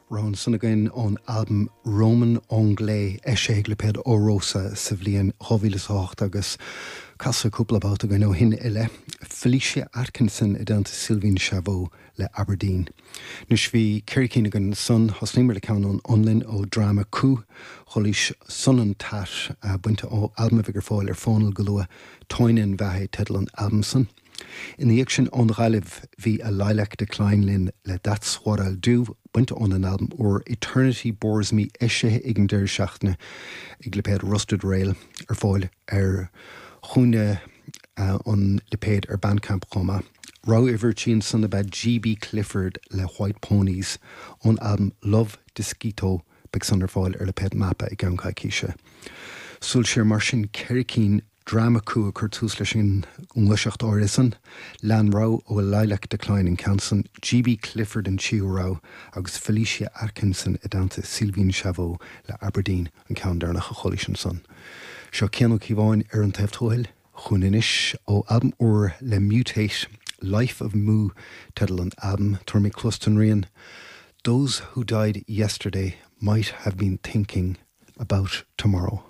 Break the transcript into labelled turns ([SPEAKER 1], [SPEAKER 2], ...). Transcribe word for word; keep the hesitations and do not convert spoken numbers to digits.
[SPEAKER 1] Rogha ansan againn ón albam Roman Anglais eisithe ag lipéad Órrosa sa bhliain dhá mhíle is a hocht agus casadh cúpla babhta againn ó shin i leith. Felicia Atkinson i dteannta Sylvain Chaveau le Aberdeen. Anois bhí ceithre cinn againn ansan, thosnaíomar le ceann ón Fhionlainn ó Drama Ku, chualaís Sonnen Täht bainte ó albam a bheidh ar fáil ar Fónal go luath, Toinen Vähä teideal an albaim san. Ina dhiaidh sin ón Ghaillimh bhí A Lilac Decline linn le That's What I'll Do, bainte óna n-albam úr Eternity Bores Me eisithe ag an deireadh seachtaine ag lipéad Rusted Rail, ar fáil ar chúinne an lipéid ar Bandcamp chomh maith. Rogha uimhir a trí ansan ab ea G.B. Clifford le White Ponies ón albam Love Disquito, beidh san ar fáil ar lipéad Mapa i gceann coicíse. Súil siar mar sin ceithre cinn Drama Ku ag cur tús leis an ngluaiseacht áirithe san. Lean rogha ó A Lilac Decline an ceann san, G.B. Clifford an tríú rogha agus Felicia Atkinson i dteannta Sylvain Chaveau le Aberdeen an ceann deireanach a chualaís ansan. Seo Cian Ó Cíobháin ar an taobh tuathail chugainn anois ó albam úr le Mutate, Life of Mu teideal an albaim, tabharfaidh mé cluas don rian Those who died yesterday might have been thinking about tomorrow.